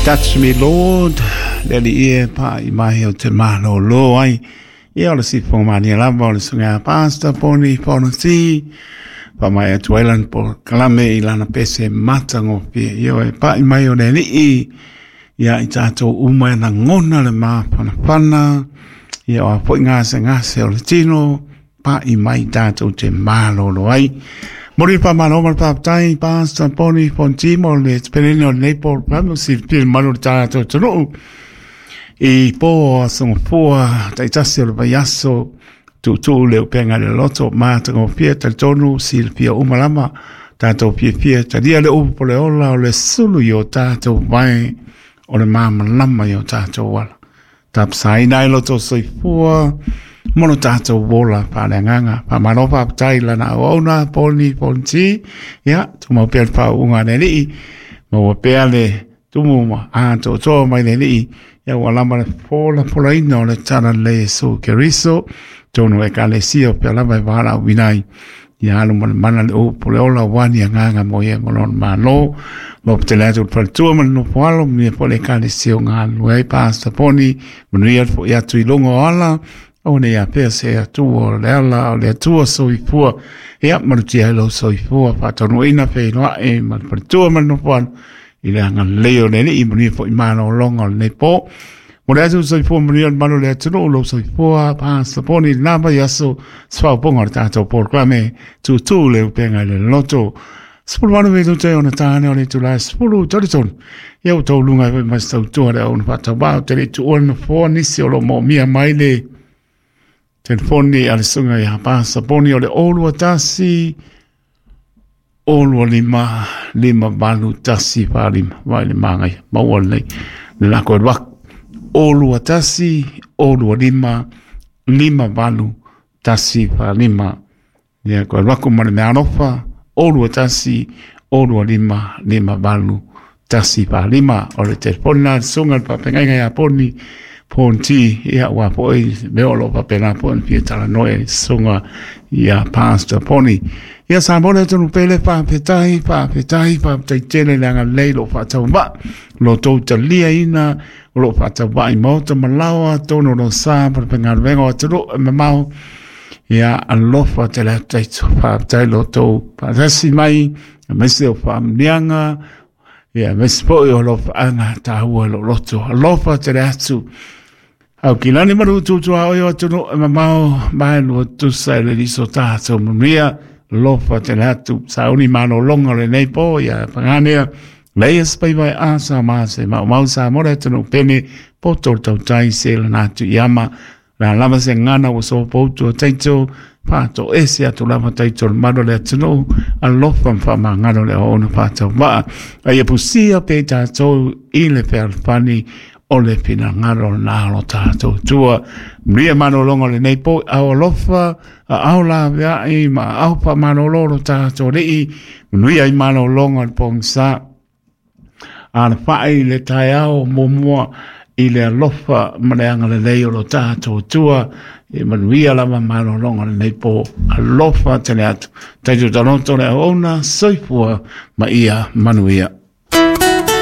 Touch Me Lord, le Alii e pa'i mai ou te malōlō ai. Ia o le sifofoga mania lava o le susuga ia Pastor Poni Fonoti, faamaea atu ai lana polokalame i lana pese matagofie. Ioe, pa'i mai o le Alii ia i tatou uma e lagona le mafanafana, ia o a foi gasegase o le tino, pa'i mai tatou te malolo ai. Momoli le faamalo ma le faafetai Pastor Poni Fonti mo le peleni o lenei polokalame o silafia le mamalu o le tatou atunuu i po o aso gafua taitasi o le vaiaso tuutuu le upega i le loto matagofie. Talitonu silafia uma lava tatou fiafia talia le upu o le ola o le sulu i o tatou vae o le malamalama i o tatou ala. Tapasaina ai lo tou soifua mo lo tatou ola faaleagaga. Faamalo faafetai i lana auauna Poni Fonti. Ia, tumau pea le faauuga a le Alii, maua pea le tumu ma atoatoa mai le Alii. Ia ua lava le folafolaina o le Talalelei Iesu Keriso, tonu Ekalesia o pea lava e valaauina ai. Ia alu ma le mana le upu le ola aua ni agaga mo ia ma lona Malo. Lopo tele atu le faletua ma le nofo alo, manuia foi le Ekalesia o galulue ai Pastor Poni, manuia le foi atu i luga o ala, aua ne i afea se Atua o le ala o le Atua soifua. Ia malutia ai lou soifua, faataunuuina feiloai ma le faletua ma le nofo alo i le agalelei o le Alii, manuia foi malologa o lenei po. Mo le atu soifua manuia le malu o le atunuu, lou soifua Pastor Poni i lena vaiaso, se faaopoopoga o le tatou polokalame Tūtū le Upega i le Loto. 18 minute ona tāne o le itula e 10:33. Ia ua tauluga ai foi ma se tautua le auauna faatauvaa ou te le i tuua le nofoa nisi o lo o moomia mai le telefoni a le susuga ia Pastor Poni o le 021 025 58 145. Vai le māngaia, maua lenei le lako e luaku. 021 025 58 145. Ia, koe alu atu ma le mea alofa, 021 025 58 145. O le telefoni lena a le susuga i le faafeagaiga ia Poni Ponti, ia aua foi mea o lo o faapena foi ona fia talanoa i le susuga ia Pastor Poni. Ia Samoa le atunuu pele, faafetai, faafetai, faafetai tele le agalelei lo o faatauvaa, lo tou taliaina o lo o faatauvaa i maota ma laoa, tonu o lo sa ma le faigaluega o atunuu e mamao. Ia alofa tele atu taito, faafetai lo tou faatasi mai, aemaise o faamanuiaga, ia aemaise foi o alofaaga taua i lou loto. Alofa tele atu. Au kilani ma lututu a oe o atunuu e mamao, mai lua tusa i le liso tatou manuia. Alofa tele atu. Sauni malologa o lenei po, ia paganea. Leia se paivai a sa ma se maumau sa mo le atunuu pene, poto le tautai se lana atu i ama. La lava se gagana ua sopoutu o taito, faatoese atu lava taito o le malu o le atunuu, alofa ma faamagalo le auauna faatauvaa. A ia pusia pea i tatou i le fealofani o le finagalo lena o lo tatou Atua. Manuia malologa o lenei po, ao alofa, aao laveai ma aao faamalolo lo tatou Alii, manuia i malologa o le pogisa. Alafai i le taeao muamua i le alofa ma le agalelei o lo tatou Atua. E manuia lava malologa o lenei po. Alofa tele atu. Taito taloto le auauna, soifua ma ia manuia.